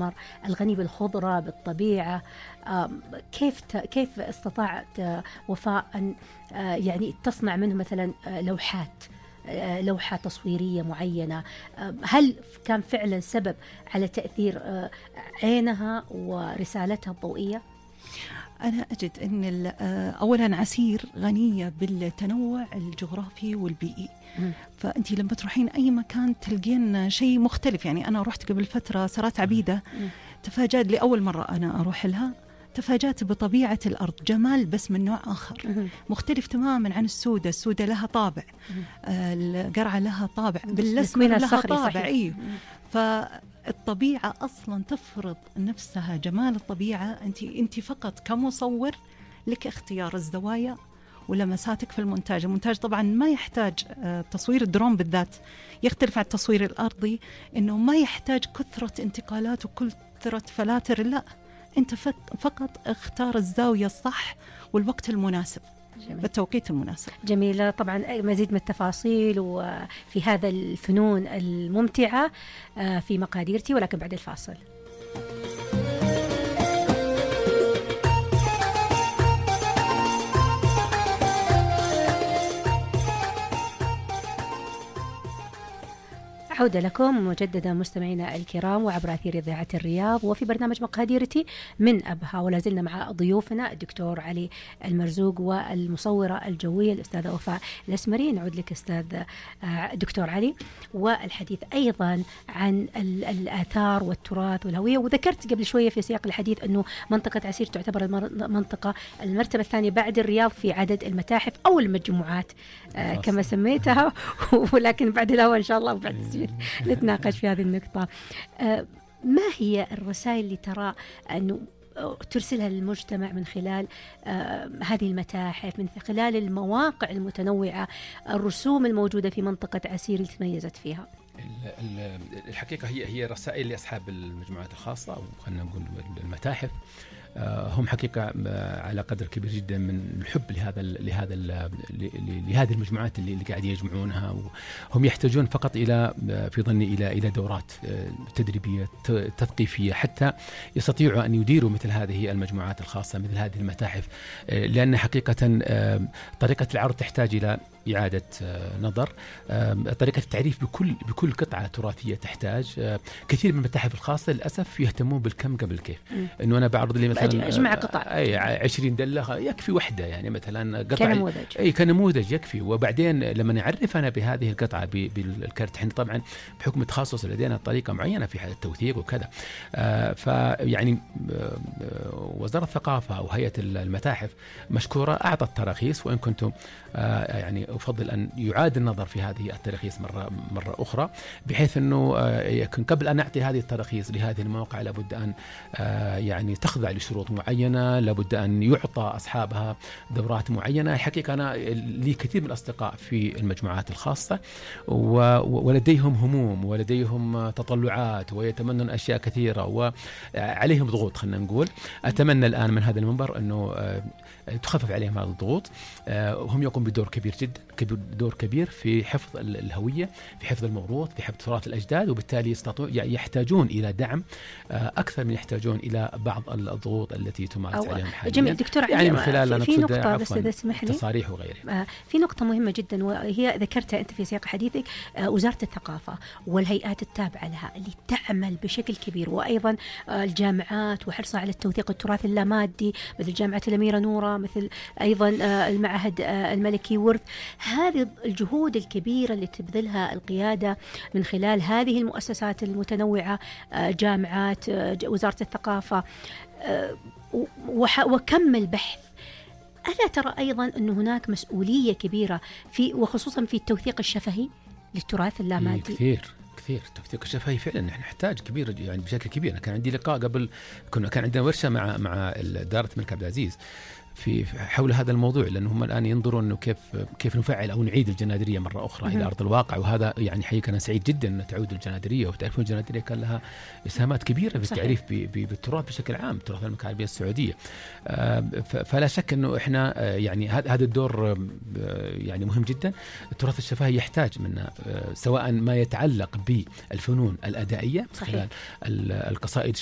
الأحمر الغني بالخضرة بالطبيعة. كيف استطاعت وفاء أن يعني تصنع منه مثلا لوحة تصويرية معينة؟ هل كان فعلا سبب على تأثير عينها ورسالتها الضوئية؟ أنا أجد أن أولا عسير غنية بالتنوع الجغرافي والبيئي، فأنت لما تروحين أي مكان تلقين شيء مختلف. يعني أنا رحت قبل فترة سرات عبيدة، تفاجأت لأول مرة أنا أروح لها، تفاجأت بطبيعة الأرض، جمال بس من نوع آخر مختلف تماما عن السودة لها طابع، القرعة لها طابع، بالأسمر لها طابع. إيه، فالطبيعة أصلا تفرض نفسها، جمال الطبيعة. أنت فقط كمصور لك اختيار الزوايا ولمساتك في المونتاج. المونتاج طبعا ما يحتاج تصوير الدرون بالذات يختلف عن التصوير الأرضي، إنه ما يحتاج كثرة انتقالات وكثرة فلاتر، لا، أنت فقط اختار الزاوية الصح والوقت المناسب. جميل. بالتوقيت المناسب. جميلة. طبعا مزيد من التفاصيل وفي هذا الفنون الممتعة في مقاديرتي، ولكن بعد الفاصل. عودة لكم مجددا مستمعينا الكرام وعبر أثير إذاعة الرياض وفي برنامج مقاديرتي من أبها، ولا زلنا مع ضيوفنا الدكتور علي المرزوق والمصورة الجوية الأستاذة وفاء الأسمري. نعود لك أستاذ دكتور علي، والحديث أيضا عن الآثار والتراث والهوية. وذكرت قبل شوية في سياق الحديث أنه منطقة عسير تعتبر المنطقة المرتبة الثانية بعد الرياض في عدد المتاحف أو المجموعات كما سميتها، ولكن بعد الهواء إن شاء الله وبعد السجن نتناقش في هذه النقطة. ما هي الرسائل اللي ترى أنه ترسلها للمجتمع من خلال هذه المتاحف، من خلال المواقع المتنوعة، الرسوم الموجودة في منطقة عسير اللي تميزت فيها؟ الحقيقة هي رسائل لأصحاب المجموعات الخاصة أو خلينا نقول المتاحف. هم حقيقة على قدر كبير جدا من الحب لهذه المجموعات اللي قاعد يجمعونها، وهم يحتاجون فقط في ظني إلى دورات تدريبية تثقيفية حتى يستطيعوا أن يديروا مثل هذه المجموعات الخاصة، مثل هذه المتاحف، لأن حقيقة طريقة العرض تحتاج إلى إعادة نظر. طريقة التعريف بكل قطعة تراثية تحتاج. كثير من المتاحف الخاصة للأسف يهتمون بالكم قبل كيف، إنه أنا بعرض لي مثلا أجمع قطع 20 دلة يكفي وحدة، يعني مثلا قطعة كنموذج يكفي. وبعدين لما نعرف أنا بهذه القطعة بالكارت، حين طبعا بحكم التخصص لدينا طريقة معينة في التوثيق وكذا. فيعني وزارة الثقافة أو هيئة المتاحف مشكورة أعطت تراخيص، وإن كنتم يعني أفضل أن يعاد النظر في هذه التراخيص مرة أخرى، بحيث أنه يكون قبل أن نعطي هذه التراخيص لهذه المواقع لابد أن يعني تخضع لشروط معينة، لابد أن يعطى أصحابها دورات معينة. الحقيقة أنا لي كثير من الأصدقاء في المجموعات الخاصة ولديهم هموم ولديهم تطلعات ويتمنون أشياء كثيرة وعليهم ضغوط. خلينا نقول أتمنى الآن من هذا المنبر أنه تخفف عليهم هذا الضغوط. هم يقوم بدور كبير جدا، دور كبير في حفظ الهوية، في حفظ الموروث، في حفظ تراث الأجداد، وبالتالي يحتاجون إلى دعم أكثر من يحتاجون إلى بعض الضغوط التي تمارس عليهم حاليا. جميل دكتور علي، يعني من خلال في نقطة بس إذا سمح لي، تصاريح وغيرها. في نقطة مهمة جدا وهي ذكرتها أنت في سياق حديثك، وزارة الثقافة والهيئات التابعة لها اللي تعمل بشكل كبير، وأيضا الجامعات وحرصها على التوثيق التراث اللامادي مثل جامعة الأميرة نورة، مثل أيضا المعهد الملكي ورث. هذه الجهود الكبيرة اللي تبذلها القيادة من خلال هذه المؤسسات المتنوعة، جامعات، وزارة الثقافة، وكم البحث. ألا ترى أيضا أن هناك مسؤولية كبيرة وخصوصا في التوثيق الشفهي للتراث اللامادي؟ كثير التوثيق الشفهي فعلا نحن نحتاج كبير، يعني بشكل كبير. كان عندي لقاء قبل، كان عندنا ورشة مع إدارة الملك عبد العزيز في حول هذا الموضوع، لأنهم الآن ينظرون إنه كيف نفعل أو نعيد الجنادرية مرة أخرى إلى أرض الواقع. وهذا يعني حقيقة أنا سعيد جدا أن تعود الجنادرية. وتعرفون الجنادرية كان لها إسهامات كبيرة في التعريف بالتراث بشكل عام، تراث المملكة العربية السعودية. فلا شك إنه إحنا يعني هذا الدور يعني مهم جدا. التراث الشفهي يحتاج منا سواء ما يتعلق بالفنون الأدائية، خلال القصائد